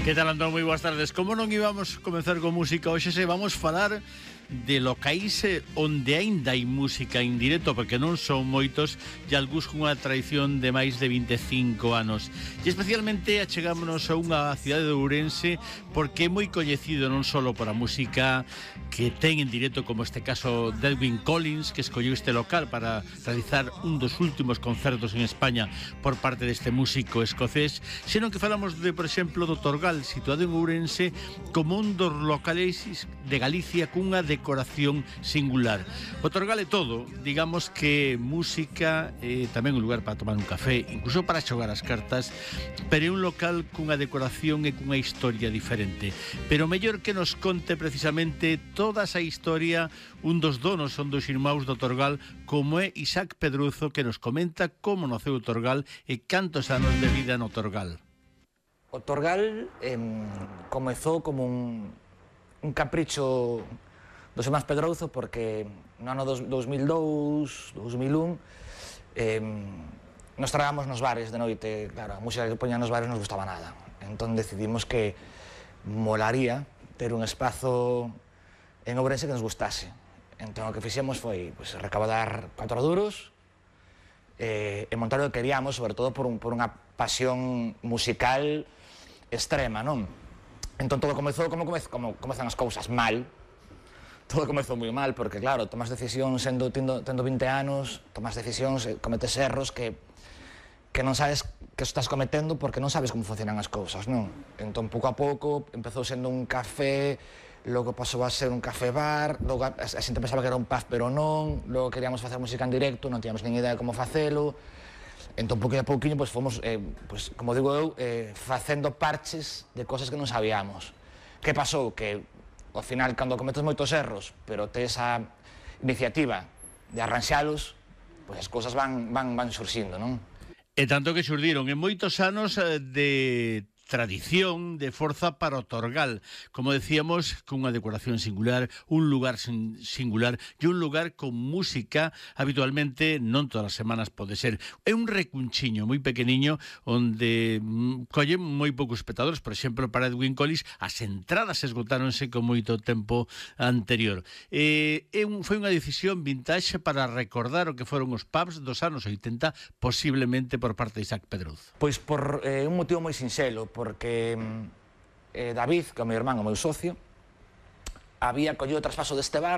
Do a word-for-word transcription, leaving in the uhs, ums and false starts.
Que tal, Antón? Moi boas tardes. Como non íbamos comenzar con música hoxe, se vamos falar de locais onde aínda hai música en directo, porque non son moitos, e algúns con unha tradición de máis de vinte e cinco anos. E especialmente achegámonos a unha cidade de Ourense porque é moi coñecido non só por a música que ten en directo, como este caso de Edwyn Collins, que escolleu este local para realizar un dos últimos concertos en España por parte deste músico escocés, senón que falamos de, por exemplo, do Torgal, situado en Ourense, como un dos locales de Galicia cunha decoración singular. O Torgal é todo, digamos que música, eh, tamén un lugar para tomar un café, incluso para xogar as cartas, pero é un local cunha decoración e cunha historia diferente. Pero mellor que nos conte precisamente toda esa historia un dos donos, son dos irmãos do Torgal, como é Isaac Pedruzo, que nos comenta como naceu o Torgal e cantos anos de vida no Torgal. O Torgal eh, comezou como un, un capricho dos irmáns Pedrouzo, porque no ano dos mil dous, dos mil un eh, nos tragábamos nos bares de noite. Claro, a música que poñan nos bares non nos gustaba nada, entón decidimos que molaría ter un espazo en Ourense que nos gustase. Entón o que fixemos foi pues, recaudar cuatro duros eh, e montar o que queríamos, sobre todo por, un, por unha pasión musical extrema, non? Entón todo comezou como, comez, como comezan as cousas, mal. Todo comezou moi mal, porque claro, tomas decisións sendo, tendo, tendo vinte anos, tomas decisións, cometes erros que, que non sabes que estás cometendo porque non sabes como funcionan as cousas, non? Entón, pouco a pouco, empezou sendo un café, logo pasou a ser un café bar, logo a, a xente pensaba que era un pub, pero non, logo queríamos facer música en directo, non tiñamos nin idea de como facelo. Entón, pouquinho a pouquinho, pues, fomos, eh, pues, como digo eu, eh, facendo parches de cosas que non sabíamos. Que pasou? Que ao final, cando cometes moitos erros, pero tes a iniciativa de arranxalos, pois as cousas van, van, van surxindo, non? E tanto que xurdiron en moitos anos de tradición, de forza para o Torgal, como decíamos, con unha decoración singular, un lugar singular e un lugar con música habitualmente non todas as semanas pode ser. É un recunchiño moi pequeniño onde mm, collen moi poucos espectadores. Por exemplo, para Edwyn Collins as entradas esgotáronse con moito tempo anterior. Eh, é un, foi unha decisión vintage para recordar o que foron os pubs dos anos oitenta, posiblemente por parte de Isaac Pedruzo. Pois por eh, un motivo moi sinxelo, porque eh, David, que é o meu irmán, o meu socio, había collido o traspaso deste bar